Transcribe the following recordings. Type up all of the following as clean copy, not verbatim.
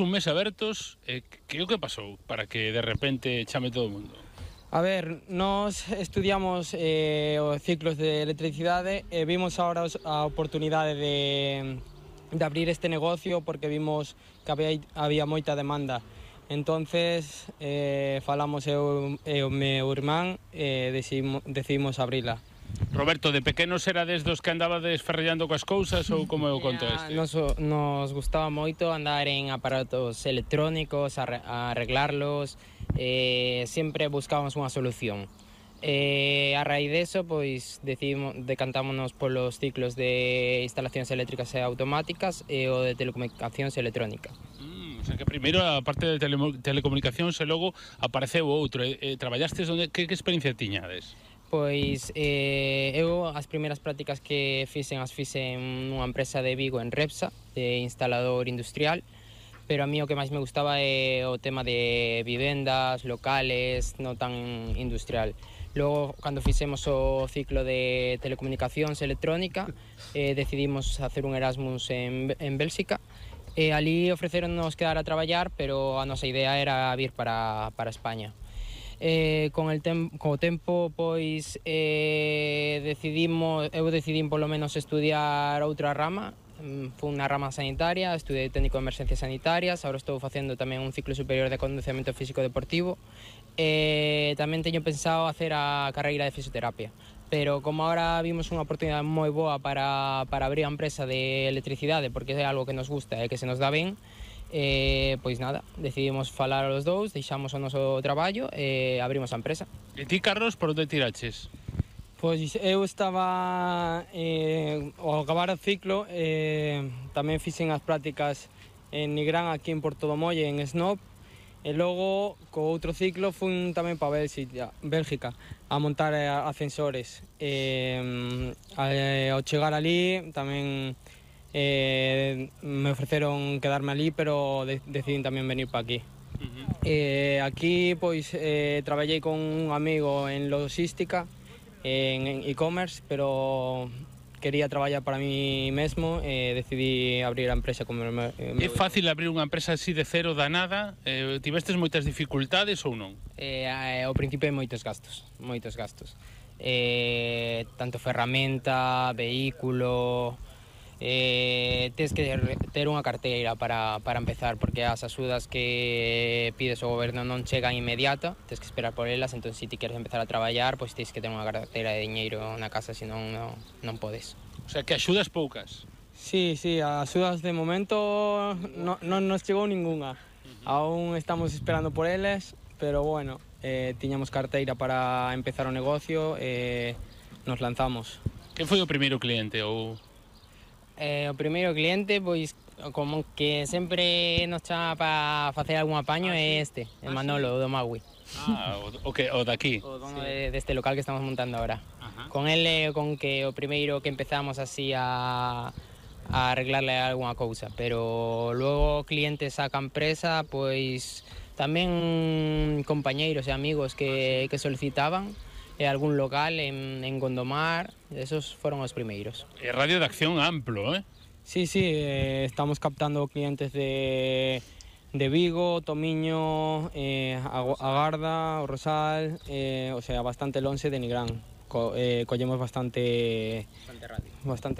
Un mes abertos, que o que pasou para que de repente chame todo o mundo? A ver, nós estudiamos os ciclos de electricidade e vimos agora a oportunidade de abrir este negocio porque vimos que había moita demanda. Entonces falamos eu e o meu irmán e decidimos abrila. Roberto, de pequenos erades dos que andabades ferrellando coas cousas ou como é o conto este? Nos gustaba moito andar en aparatos electrónicos, arreglarlos, sempre buscábamos unha solución. A raíz deso, pois, decantámonos polos ciclos de instalacións eléctricas e automáticas e o de telecomunicacións e electrónica. O sea que primeiro a parte de telecomunicacións e logo apareceu outro. Traballastes onde, que experiencia tiñades? Pois eu as primeiras prácticas que fixen nunha empresa de Vigo en Repsa, de instalador industrial, pero a mí o que máis me gustaba é o tema de vivendas, locales, non tan industrial. Logo, cando fixemos o ciclo de telecomunicacións e electrónica, decidimos hacer un Erasmus en Bélxica, e ali ofreceronnos quedar a traballar, pero a nosa idea era vir para España. Co tempo, pois, eu decidín polo menos estudiar outra rama. Fui unha rama sanitaria, estudei técnico de emerxencias sanitarias, agora estou facendo tamén un ciclo superior de condicionamento físico deportivo, e tamén teño pensado hacer a carreira de fisioterapia. Pero como agora vimos unha oportunidade moi boa para abrir a empresa de electricidade, porque é algo que nos gusta e que se nos dá ben, pois nada, decidimos falar os dous, deixamos o noso traballo e abrimos a empresa. E ti, Carlos, por onde tiraches? Pois eu estaba ao acabar o ciclo, tamén fixen as prácticas en Nigrán, aquí en Portodomolle, en Snob, e logo co outro ciclo fui tamén para Bélgica a montar ascensores. Ao chegar ali tamén me ofreceron quedarme ali, pero decidín tamén venir para aquí. Aquí pois traballei con un amigo en logística, en e-commerce, pero quería traballar para mí mesmo e decidí abrir a empresa como É fácil abrir unha empresa así de cero da nada? Tivestes moitas dificultades ou non? Ao principio hai moitos gastos. Tanto ferramenta, vehículo. Tens que ter unha carteira para empezar, porque as axudas que pides ao goberno non chegan inmediato, tens que esperar por elas. Entón, se ti queres empezar a traballar, pois tens que ter unha carteira de diñeiro na casa, senón non podes. O sea, que axudas poucas? Sí, as axudas de momento non nos chegou ningunha. Aún estamos esperando por eles, pero bueno, tiñamos carteira para empezar o negocio e nos lanzamos. Quen foi o primeiro cliente ou... O primeiro cliente, pois, como que sempre nos chama para facer algún apaño, é Manolo, do Magui. O daqui? O dono deste local que estamos montando agora. Con ele, con que o primeiro que empezamos así a arreglarle algunha cousa, pero logo clientes a empresa, pois, tamén compañeiros e amigos que solicitaban, e algún local en Gondomar, esos foron os primeiros. É radio de acción amplo, Sí, estamos captando clientes de Vigo, Tomiño, Agarda, o Rosal, o sea, bastante lonxe de Nigrán. Collemos bastante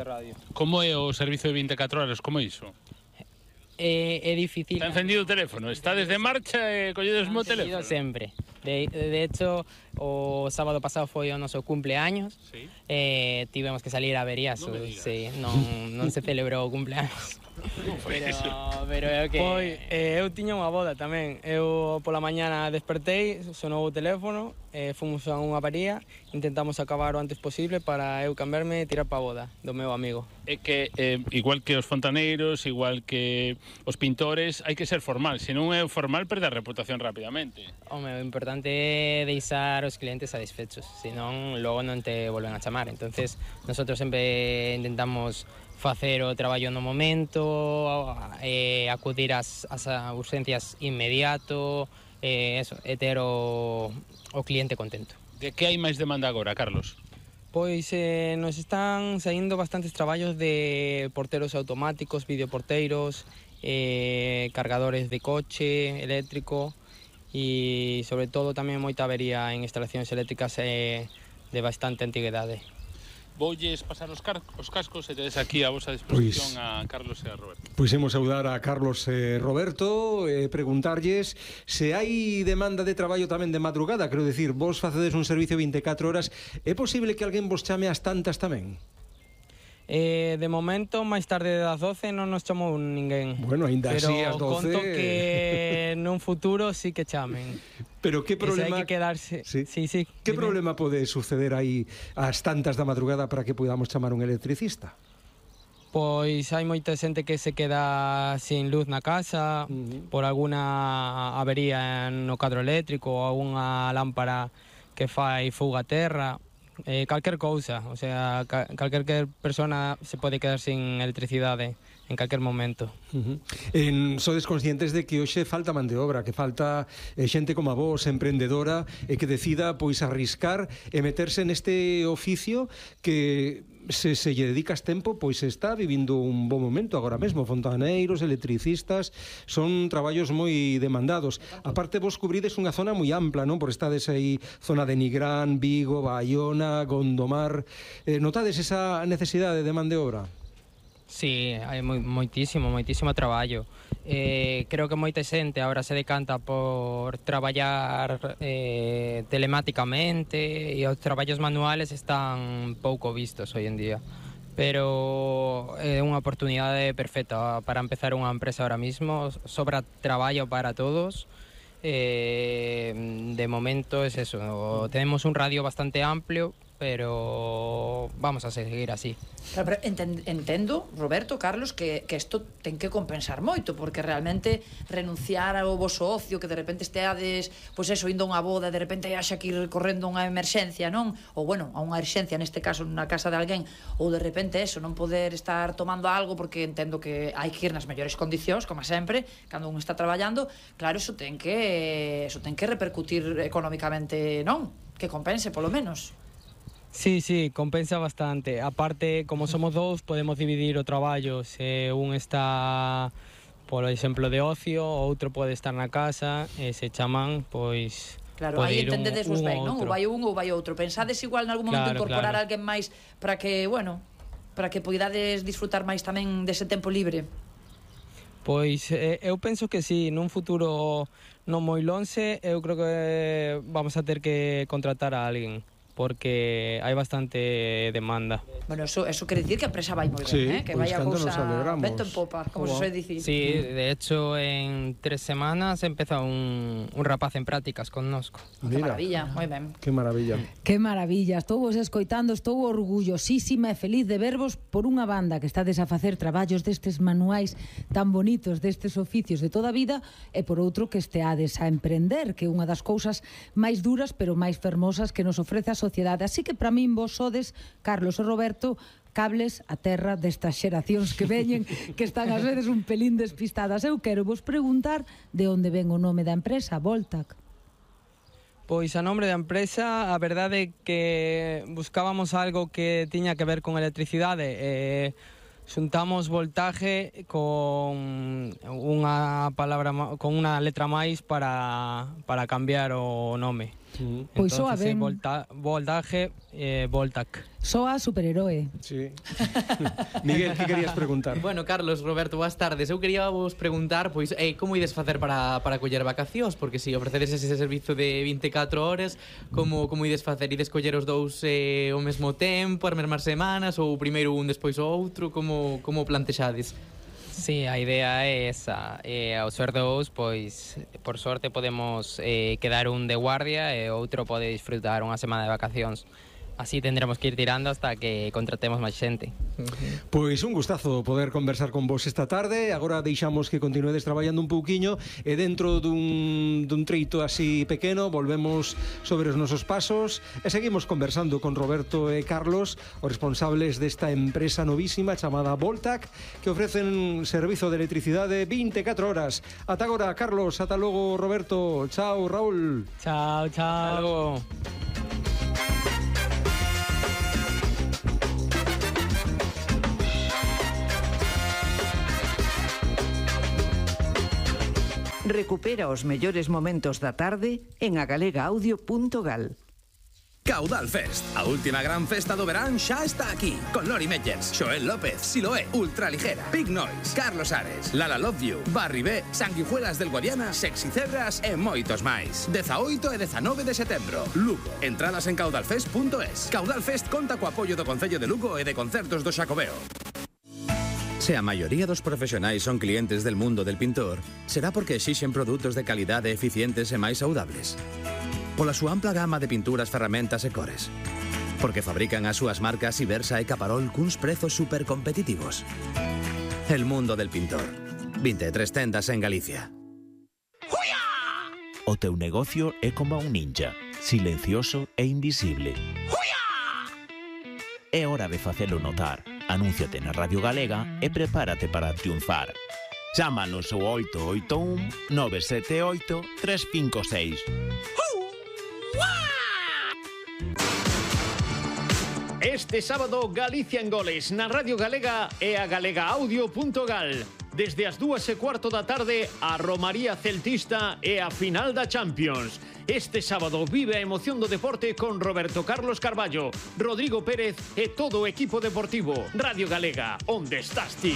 radio. Como é o servizo de 24 horas, como é iso? É difícil. Está encendido o teléfono, está desde marcha e colledes o teléfono? Sempre. De hecho, o sábado pasado foi o noso cumpleaños. Sí. Tivemos que salir a Veriaso. Non se celebrou o cumpleaños. Pero é o que... Pois, eu tiña unha boda tamén. Eu pola mañana despertei, sonou o teléfono, fomos a unha avaría, intentamos acabar o antes posible para eu cambiarme e tirar pa a boda do meu amigo. É que, igual que os fontaneiros, igual que os pintores, hai que ser formal. Se non é formal, perde a reputación rapidamente. Home, o importante é deixar os clientes satisfechos, senón logo non te volven a chamar. Entonces, nosotros sempre intentamos facer o traballo no momento, acudir ás urgencias inmediato, e ter o cliente contento. De que hai máis demanda agora, Carlos? Pois nos están saindo bastantes traballos de porteros automáticos, videoporteiros, cargadores de coche eléctrico e sobre todo tamén moita avería en instalacións eléctricas de bastante antigüedade. Voulles pasar os cascos e tedes aquí a vosa disposición a Carlos e a Roberto. Pois imos saudar a Carlos e Roberto e preguntarlles se hai demanda de traballo tamén de madrugada. Quero dicir, vos facedes un servicio 24 horas, é posible que alguén vos chame ás tantas tamén? De momento, máis tarde das 12 non nos chamou ninguén. Bueno, ainda así ás 12... Pero conto que nun futuro sí que chamen. Pero que problema... Hai que quedarse... Sí. Sí. Que problema pode suceder aí ás tantas da madrugada para que podamos chamar un electricista? Pois hai moita xente que se queda sin luz na casa por alguna avería no cadro eléctrico ou alguna lámpara que fai fuga a terra. Calquer cousa, o sea, calquer persona se pode quedar sin electricidade en calquer momento. Sodes conscientes de que hoxe falta man de obra, que falta xente como a vos, emprendedora, e que decida pois arriscar e meterse neste oficio que se lle dedicas tempo, pois está vivindo un bo momento agora mesmo. Fontaneiros, electricistas, son traballos moi demandados. Aparte, vos cubrides unha zona moi ampla, non? Por estades aí, zona de Nigrán, Vigo, Baiona, Gondomar. Notades esa necesidade de man de obra? Sí, hai moitísimo traballo. Creo que moita xente agora se decanta por traballar telemáticamente e os traballos manuales están pouco vistos hoy en día. Pero é unha oportunidade perfecta para empezar unha empresa ahora mismo. Sobra traballo para todos. De momento es eso, tenemos un radio bastante amplio, pero vamos a seguir así. Claro, pero entendo, Roberto, Carlos, que isto ten que compensar moito, porque realmente renunciar ao voso ocio, que de repente esteades, pois eso, indo a unha boda, de repente haxa que ir correndo unha emerxencia, non? Ou, bueno, a unha urxencia, neste caso, na casa de alguén, ou de repente eso, non poder estar tomando algo, porque entendo que hai que ir nas mellores condicións, como sempre, cando un está traballando, claro, eso ten que repercutir económicamente, non? Que compense, polo menos. Sí, compensa bastante. Aparte, como somos dous, podemos dividir o traballo. Se un está, por exemplo, de ocio, o outro pode estar na casa, e se chaman, pois... Claro, aí entendedes vos ben, non? Ou vai un ou vai outro. Pensades igual en algún momento incorporar a alguén máis para que, bueno, para que poidades disfrutar máis tamén dese tempo libre? Pois eu penso que sí, nun futuro non moi lonxe, eu creo que vamos a ter que contratar a alguén, porque hai bastante demanda. Bueno, eso quere dicir que a empresa vai moi ben, que vai a cousa vento en popa, como se soe dicir. Sí, de hecho, en 3 semanas empeza un rapaz en prácticas connosco. Que maravilla, moi ben. Que maravilla. Que maravilla, estou vos escoitando, estou orgullosísima e feliz de vervos por unha banda que estades a facer traballos destes manuais tan bonitos, destes oficios de toda a vida, e por outro que esteades a emprender, que é unha das cousas máis duras pero máis fermosas que nos ofrece a sociedade. Así que para min vos sodes, Carlos e Roberto, cables a terra destas xeracións que veñen, que están ás veces un pelín despistadas. Eu quero vos preguntar de onde ven o nome da empresa, Voltac. Pois a nombre da empresa, a verdade é que buscábamos algo que tiña que ver con electricidade. Xuntamos voltaje con unha palabra, con unha letra máis para cambiar o nome. Pois soa ben. Voltaje, Voltac. Soa superheroe. Sí. Miguel, que querías preguntar? Bueno, Carlos, Roberto, boas tardes. Eu quería vos preguntar, pois, como ides facer para coller vacacións? Porque se ofrecedes ese servizo de 24 horas, como ides facer? Ides coller os dous ao mesmo tempo, as mesmas semanas, ou primeiro un, despois o outro? Como plantexades? Sí, a idea é esa. Ao ser dous, pois, por sorte podemos quedar un de guardia e outro pode disfrutar unha semana de vacacións. Así tendremos que ir tirando hasta que contratemos máis xente. Pois un gustazo poder conversar con vos esta tarde. Agora deixamos que continuedes traballando un pouquiño e dentro dun treito así pequeno volvemos sobre os nosos pasos e seguimos conversando con Roberto e Carlos, os responsables desta empresa novísima chamada Voltac, que ofrecen servizo de electricidade 24 horas. Ata agora, Carlos, ata logo, Roberto. Chao, Raúl. Chao. Hasta logo. Recupera os mellores momentos da tarde en agalegaudio.gal. Caudal Fest, a última gran festa do verán xa está aquí, con Lori Meyers, Xoel López, Siloé, Ultraligera, Big Noise, Carlos Ares, Lala Love You, Barry B, Sanguijuelas del Guadiana, Sexy Cebras e moitos máis. 18 e 19 de setembro, Lugo. Entradas en caudalfest.es. Caudal Fest conta co apoio do Concello de Lugo e de Concertos do Xacobeo. Se a maioría dos profesionais son clientes del mundo del pintor, será porque exixen produtos de calidade eficientes e máis saudables. Pola súa ampla gama de pinturas, ferramentas e cores. Porque fabrican as súas marcas Ibersa e Caparol cuns prezos super competitivos. El mundo del pintor. 23 tendas en Galicia. O teu negocio é como un ninja, silencioso e invisible. É hora de facelo notar. Anúnciate na Radio Galega e prepárate para triunfar. Chámanos ao 881 978 356. Este sábado, Galicia en goles na Radio Galega e a galegaudio.gal. Desde as 2:15 da tarde, a Romaría Celtista e a final da Champions. Este sábado vive a emoción do deporte con Roberto Carlos Carballo, Rodrigo Pérez e todo o equipo deportivo. Radio Galega, onde estás ti?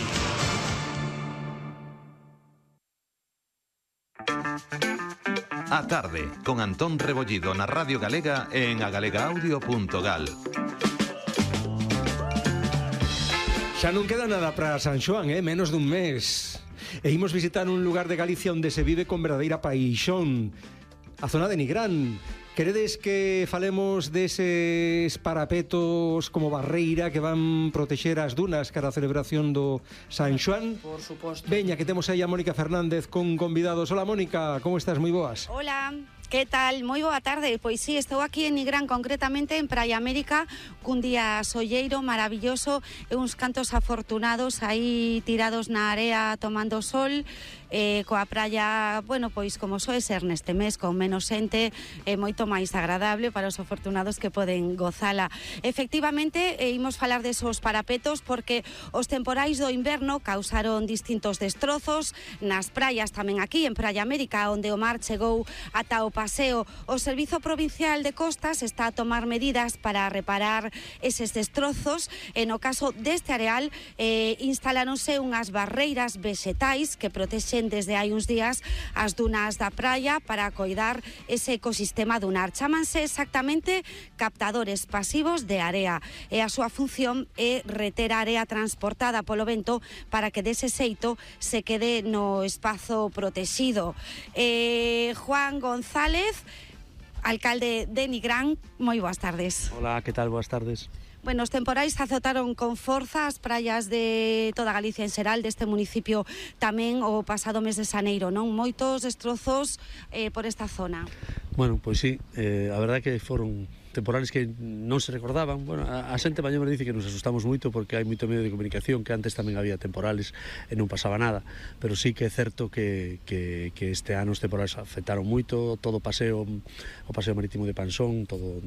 A tarde, con Antón Rebollido na Radio Galega e en agalegaudio.gal. Xa non queda nada para San Xoán, menos dun mes. E imos visitar un lugar de Galicia onde se vive con verdadeira paixón, a zona de Nigrán. Queredes que falemos deses parapetos como barreira que van protexer as dunas cara a celebración do San Xoán? Por suposto. Veña, que temos aí a Mónica Fernández con convidados. Hola, Mónica, como estás? Moi boas. Hola. Que tal? Moi boa tarde. Pois sí, estou aquí en Nigrán, concretamente en Praia América, cun día solleiro, maravilloso, e uns cantos afortunados aí tirados na area tomando sol, coa praia, bueno, pois como soe ser neste mes, con menos xente, moito máis agradable para os afortunados que poden gozala. Efectivamente, imos falar desos parapetos porque os temporais do inverno causaron distintos destrozos nas praias, tamén aquí en Praia América, onde o mar chegou ata o paseo. O Servizo Provincial de Costas está a tomar medidas para reparar eses destrozos. E no caso deste areal instaláronse unhas barreiras vexetais que protexen desde hai uns días as dunas da praia para coidar ese ecosistema dunar. Chámanse exactamente captadores pasivos de area e a súa función é reter a area transportada polo vento para que dese xeito se quede no espazo protegido. Juan González, alcalde de Nigrán, moi boas tardes. Hola, que tal? Boas tardes. Bueno, os temporais azotaron con forza as praias de toda Galicia en xeral, deste municipio tamén o pasado mes de xaneiro, non? Moitos destrozos por esta zona. Bueno, pois sí, a verdade que foron temporales que non se recordaban. Bueno, a xente mañomer dice que nos asustamos moito porque hai moito medio de comunicación, que antes tamén había temporales e non pasaba nada, pero sí que é certo que este ano os temporales afectaron moito, todo o paseo marítimo de Pansón, todo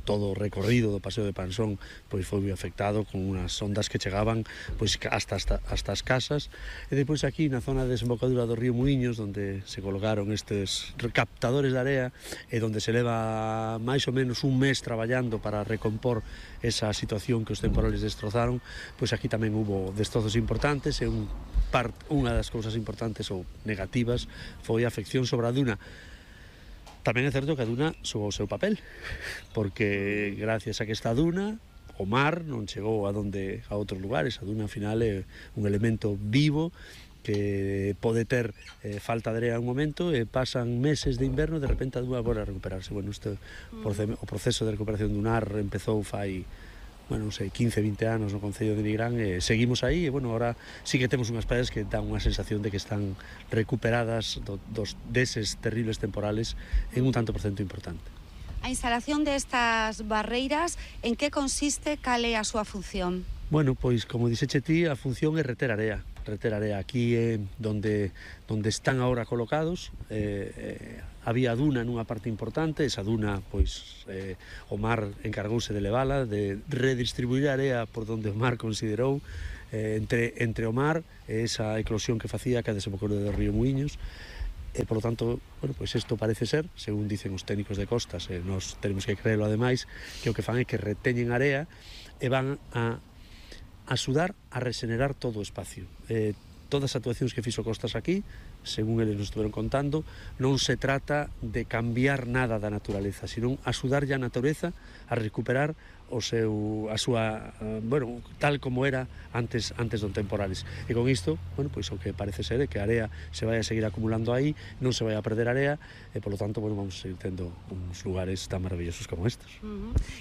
o recorrido do paseo de Pansón pois foi moi afectado, con unhas ondas que chegaban pois hasta as casas. E depois aquí na zona de desembocadura do río Muiños, onde se colocaron estes captadores de area e onde se leva máis ou menos un mes traballando para recompor esa situación que os temporales destrozaron, pois aquí tamén hubo destrozos importantes e unha das cousas importantes ou negativas foi a afección sobre a duna. Tamén é certo que a duna xogou o seu papel, porque gracias a que esta duna o mar non chegou a outros lugares. A duna, ao final, é un elemento vivo que pode ter falta de area un momento e pasan meses de inverno e de repente a dúa volve a recuperarse. Bueno, o proceso de recuperación dunar empezou fai, non sei, 15-20 anos no Concello de Nigrán e seguimos aí e, bueno, ahora sí que temos unhas praias que dan unha sensación de que están recuperadas deses terribles temporales en un tanto por cento importante. A instalación destas barreiras, en que consiste, cal é a súa función? Bueno, pois, como dixeche ti, a función é reter area. Aquí é donde están agora colocados. Había duna nunha parte importante, esa duna, pois, o mar encargouse de levala, de redistribuir a area por donde o mar considerou, entre o mar e esa eclosión que facía que a desembocadura do río Muiños. por lo tanto, bueno, pois isto parece ser, según dicen os técnicos de costas, e nós tenemos que creerlo ademais, que o que fan é que reteñen area e van a axudar a regenerar todo o espacio. Todas as actuacións que fixo Costas aquí, según eles nos estuveron contando, non se trata de cambiar nada da naturaleza, sino axudarlle a natureza a recuperar a súa, bueno, tal como era antes dos temporales. E con isto, bueno, pois o que parece ser é que a area se vai a seguir acumulando aí, non se vai a perder area, e polo tanto, bueno, vamos a seguir tendo uns lugares tan maravillosos como estes.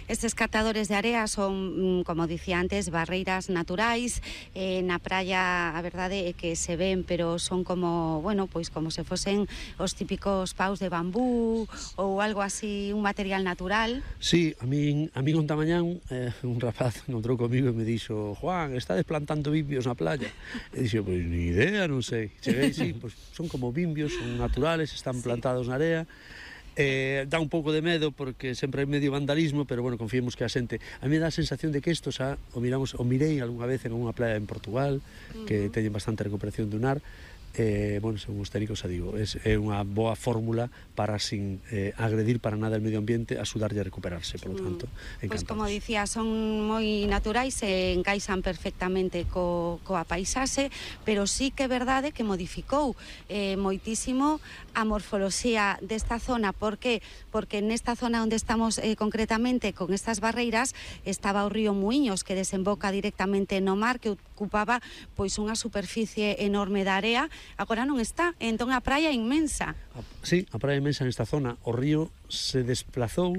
Estes catadores de area son, como dicía antes, barreiras naturais. Na praia, a verdade é que se ven, pero son como, bueno, pois como se fosen os típicos paus de bambú ou algo así, un material natural. Sí, a min onta mañán un rapaz encontrou comigo e me dixo: Juan, estades plantando bimbios na playa? E dixo: pois ni idea, non sei. Cheguei, sí, pois son como bimbios, son naturales, están plantados na area. Dá un pouco de medo porque sempre hai medio vandalismo, pero bueno, confiemos que a xente, a mí dá a sensación de que isto xa o mirei algunha vez en unha playa en Portugal, que teñen bastante recuperación dunar. Bueno, según os técnicos, xa digo, é unha boa fórmula para, sin agredir para nada o medio ambiente, axudarlle a recuperarse, por lo tanto, encantados. Pois como dicía, son moi naturais e encaixan perfectamente coa paisaxe, pero sí que é verdade que modificou moitísimo a morfoloxía desta zona. Por que? Porque nesta zona onde estamos concretamente con estas barreiras estaba o río Muiños, que desemboca directamente no mar, que ocupaba pois unha superficie enorme de area. Agora non está, entón a praia é inmensa. Sí, a praia é inmensa nesta zona. O río se desplazou,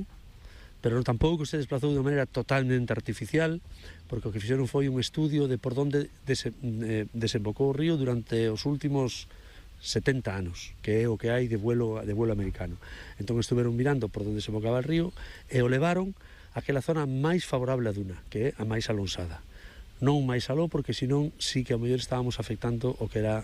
pero tampouco se desplazou de maneira totalmente artificial, porque o que fixeron foi un estudio de por onde desembocou o río durante os últimos 70 anos, que é o que hai de vuelo americano. Entón estuveron mirando por onde desembocaba o río e o levaron a aquela zona máis favorable a Duna, que é a máis alonsada. Non máis aló, porque senón sí que a mellor estábamos afectando o que era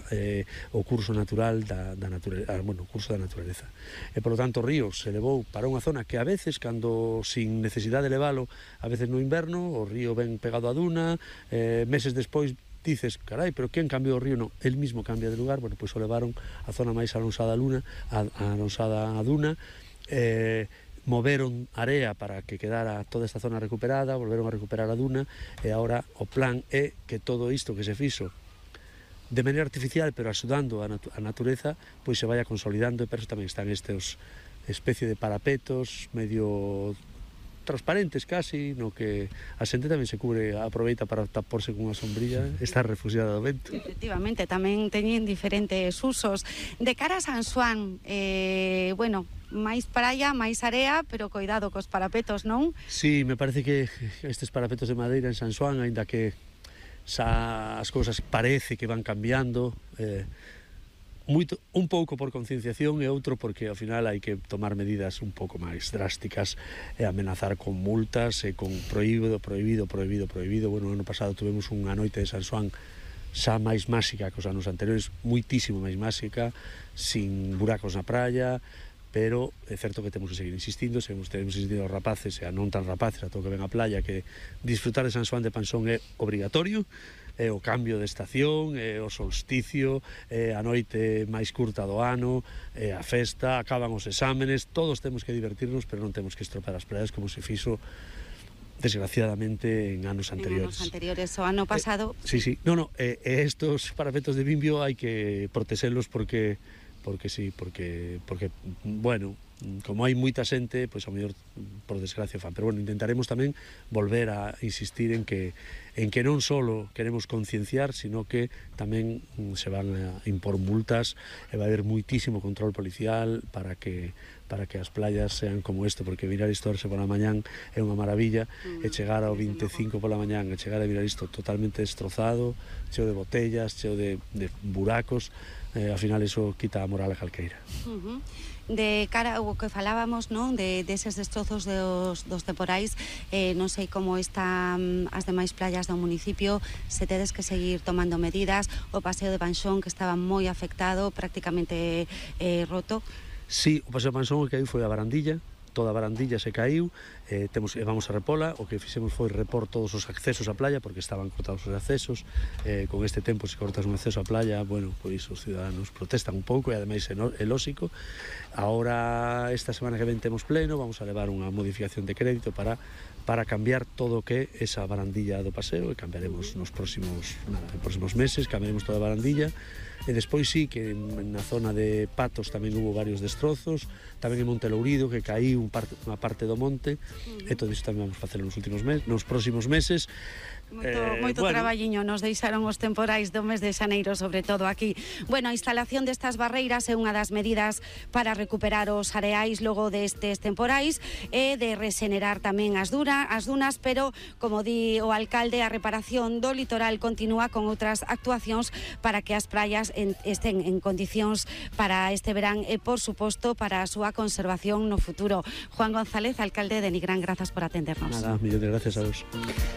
o curso natural o curso da naturaleza. E polo tanto o río se levou para unha zona que a veces, cando sin necesidade de leválo, a veces no inverno, o río ven pegado a Duna, meses despois dices, carai, pero quen cambiou o río? Non, el mismo cambia de lugar. Bueno, pois o levaron a zona máis alonsada a Duna, moveron area para que quedara toda esta zona recuperada, volveron a recuperar a Duna, e agora o plan é que todo isto que se fixo de maneira artificial, pero axudando a natureza, pois se vaya consolidando, e por eso tamén están estes especie de parapetos medio transparentes casi, no que a xente tamén se cubre, aproveita para taporse con unha sombrilla, está refugiada do vento. Efectivamente, tamén teñen diferentes usos. De cara a San Xoán, bueno, máis praia, máis area, pero coidado cos parapetos, non? Sí, me parece que estes parapetos de madeira en San Xoán, aínda que as cousas parece que van cambiando, un pouco por concienciación e outro porque ao final hai que tomar medidas un pouco máis drásticas e amenazar con multas e con prohibido. Bueno, o ano pasado tuvemos unha noite de San Xoán xa máis máxica que os anos anteriores, muitísimo máis máxica, sin buracos na praia, pero é certo que temos que seguir insistindo, temos insistido aos rapaces e a non tan rapaces, a todo que ven a playa, que disfrutar de San Xoán de Pansón é obrigatorio, é o cambio de estación, é o solsticio, é a noite máis curta do ano, é a festa, acaban os exámenes, todos temos que divertirnos, pero non temos que estropear as praias como se fixo desgraciadamente en anos anteriores. O ano pasado... Sí, estos parapetos de bimbio hai que protexelos porque bueno, como hai moita xente, pois a mellor por desgracia fan, pero bueno, intentaremos tamén volver a insistir en que non só queremos concienciar, sino que tamén se van a impor multas e vai haber muitísimo control policial para que as playas sean como isto, porque mirar isto pola mañán é unha maravilla, e chegar ao 25 pola mañán e chegar a mirar isto totalmente destrozado, cheo de botellas, cheo de buracos, ao final iso quita a moral a calqueira. De cara ao que falábamos, non, deses destrozos dos temporais, non sei como están as demais playas do municipio, se tedes que seguir tomando medidas, o paseo de Panxón que estaba moi afectado, prácticamente roto. Sí, o paseo de Panxón que aí foi a Barandilla, toda a barandilla se caiu, vamos a repola, o que fixemos foi repor todos os accesos á playa, porque estaban cortados os accesos, con este tempo se cortas un acceso á playa, bueno, pois os ciudadanos protestan un pouco, e ademais é lóxico. Ahora, esta semana que ven temos pleno, vamos a levar unha modificación de crédito para cambiar todo o que é esa barandilla do paseo, e cambiaremos nos próximos meses, cambiaremos toda a barandilla. E despois sí que na zona de Patos tamén hubo varios destrozos, tamén en Monte Lourido que caíu unha parte do monte, e todo isto tamén vamos a facer nos próximos meses. Moito traballiño nos deixaron os temporais do mes de xaneiro, sobre todo aquí. Bueno, a instalación destas barreiras é unha das medidas para recuperar os areais logo destes temporais e de regenerar tamén as dunas, pero, como di o alcalde, a reparación do litoral continúa con outras actuacións para que as praias estén en condicións para este verán e, por suposto, para a súa conservación no futuro. Juan González, alcalde de Nigrán, grazas por atendernos. Nada, millón de gracias a vos.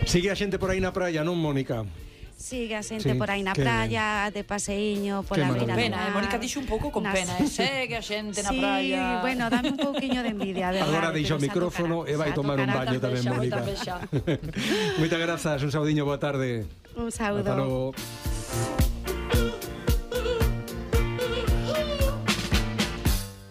Sigue a xente por aí na praia, non, Mónica? Sigue a xente por aí na praia, de paseiño, pola beira do mar. Mónica dixo un pouco con pena, segue a xente na praia. Sí, bueno, dame un pouquiño de envidia, verdade. Agora deixa o micrófono e vai tomar un baño tamén, Mónica. Moitas grazas, un saudiño, boa tarde. Un saúdo. Hasta logo.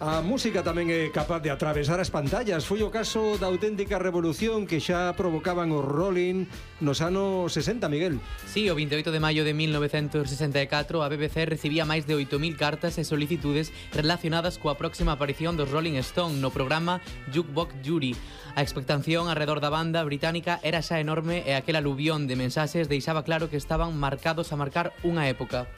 A música tamén é capaz de atravesar as pantallas. Foi o caso da auténtica revolución que xa provocaban os Rolling nos anos 60, Miguel. Sí, o 28 de maio de 1964 a BBC recibía máis de 8.000 cartas e solicitudes relacionadas coa próxima aparición dos Rolling Stone no programa Jukebox Jury. A expectación alrededor da banda británica era xa enorme e aquel aluvión de mensaxes deixaba claro que estaban marcados a marcar unha época.